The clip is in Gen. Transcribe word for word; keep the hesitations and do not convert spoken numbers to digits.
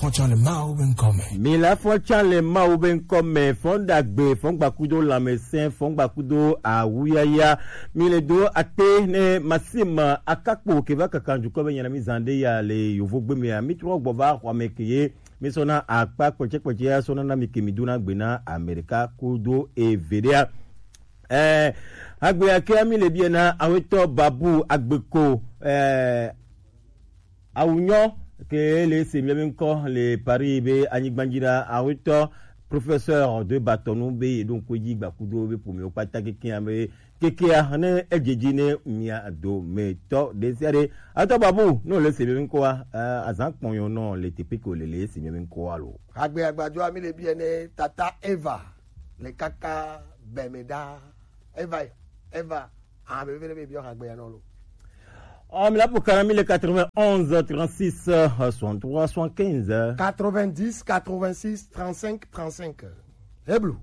Fɔtsã le Mawu be ŋkɔ me. Mi la fɔtsã le Mawu be ŋkɔ me, fɔn ɖagbe, fɔn gbakudo lãmesẽ, fɔn gbakudo awuyaya. Mi le do akpe ne Maxime Akakpo ke va kaka dukɔ be nyana mi zã ɖe ya le yovogbe mea. Mi trɔ gbɔ va xɔa me ke ye mi sɔna akpa kpɛtsɛkpɛtsɛ ya sɔna na mi ke mi dona gbe na Amerika kudo eveɖea. Eh, agbe ya ke mi le biɛ na awetɔ Babu Agbeko, eh, Awunyɔ ke le se mi be ŋkɔ le Paris be anyigba dzi ɖa awetɔ professeur de Batonu be ye ɖo ŋkɔ dzi gbakudo be ƒomewo kpata keke ame kekea ne edzedzi ne mia dometɔ ɖe sia ɖe. Atɔ Babu, ne wòle se mi be ŋkɔa, eh, azã kpɔnyɔ nɔ le teƒe ke wòle le se mi be ŋkɔa lo. Agbe agbadzɔa mi le biɛ ne tata Eva le kaka bɛme ɖa. Eva, Eva, ah, be be be biɔ agbe ya nɔ lo. Oh, mi la pour kana mi le quatre-vingt-onze, trente-six, soixante-trois, soixante-quinze. Quatre-vingt-dix, quatre-vingt-six, trente-cinq, trente-cinq. Heblu.